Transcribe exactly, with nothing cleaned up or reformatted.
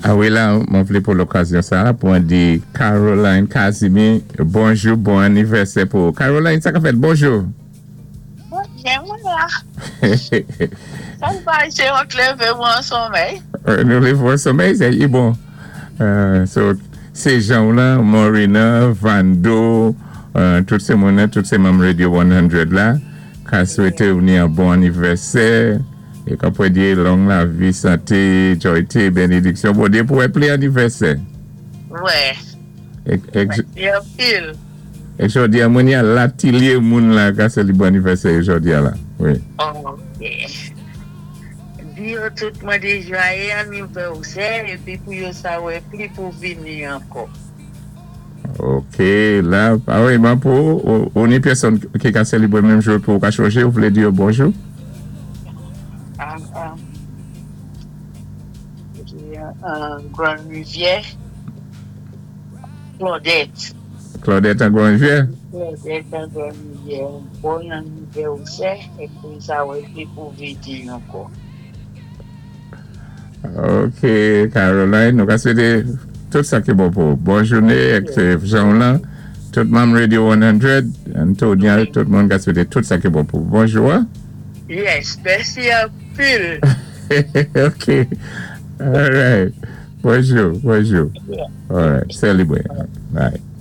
Ah wi la, mwen vlé pou lokazyon sa, pou an di Caroline Casimir, bonjou, bon anivèsè pou Caroline, sa ka fèt, bonjou. Byen, mwen la. Sa va, sé yon lévé mwen somèy. Nou lévé an somèy, sé i bon. Euh, so, sé jan la, Morina, Vando, euh, tout sé moun tout sé manm Radio san la, ka swété ou ni yon bon anivèsè, é ka pwé di long lavi, santé, jwayté, bénédiksyon, Bondyé pou pli anivèsè. Wè. É, é, Byen pil. é jòdi a mwen ni yon latilye moun la ka sélibré anivèsè jòdi a la. Wi. Ok. Di yo tout mwen di jwayé anivèsè épi pou yo sa wè pli pou vini ankò. Ok, la, ah wi, ben pou, ou, ou ni pèsonn ki ka sélibré menm jou pou ka chanjé, ou vlé di bonjou? Ah, ah. An Grande Rivière. Claudette. Claudette an Grande Rivière? Claudette an Grande Rivière. Bon anivèsè épi sa wè pli pou vini ankò. Ok, Caroline, nou ka swété tout sa ki bon pou. Bon jouné ak jan la, tout manm Radio san, Antonia, tout moun ka swété tout sa ki bon pou. Bonjou. Hein? Yes, mèsi anpil. Ok. All right. Bonjou, bonjou. Yeah. All right. Sélibré. Bye.